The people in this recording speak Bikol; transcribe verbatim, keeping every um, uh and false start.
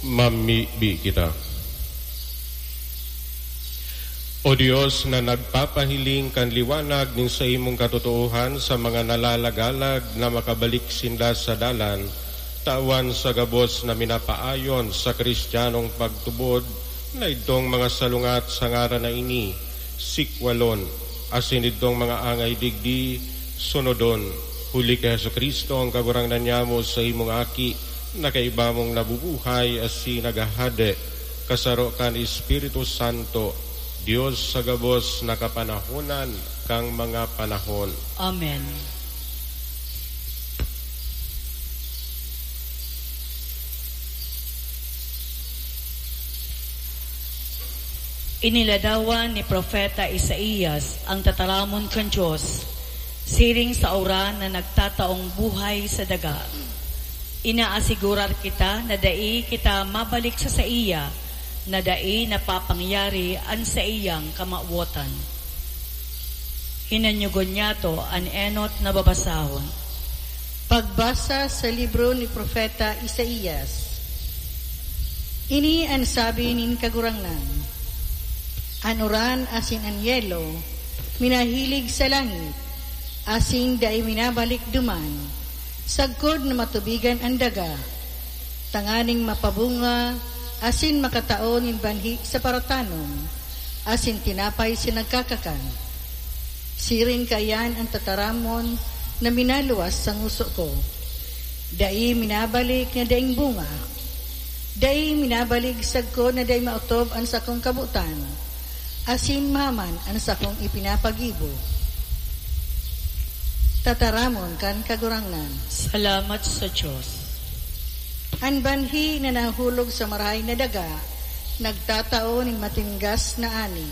Mamibi kita. O Dios na nagpapahiling kan liwanag nin saimong katotoohan sa mga nalalagalag na makabalik sinda sa dalan, tawan sa gabos na minapaayon sa Kristiyanong pagtubod na idtong mga salungat sa ngaran na ini, sikwalon, asin idtong mga angay digdi, sunodon, huli ki Jesu-Cristo, an Kagurangnan niyamo, saimong Aki, na kaiba mong nabubuhay asin naghahade, kasaro kan Espiritu Santo, Dios sa gabos na kapanahonan kan mga panahon. Amen. Iniladawan ni Propeta Isaias ang tataramon kan Dios, siring sa uran na nagtataong buhay sa daga. Inaasigurar kita na dai kita mabalik sa saiya, na dai napapangyari an saiyang kamawotan. Hinanyogon niyato an enot na babasahon. Pagbasa sa libro ni Propeta Isaias. Ini an sabi nin Kagurangnan, "An uran asin an yelo minahilig sa langit, asin dai minabalik duman, sagkod na matubigan an daga, tanganing mapabunga asin makatao nin banhi sa paratanom, asin tinapay sa nagkakakan." Siring kaiyan an tataramon na minaluwas sa ngoso ko. Dai minabalik na daing bunga. Dai minabalik sagkod na dai maotob an sakong kabotan, asin maman an sakong ipinapagibo. Tataramon kan Kagurangnan. Salamat sa Dios. An banhi na nahulog sa marahay na daga, nagtatao nin matinggas na ani.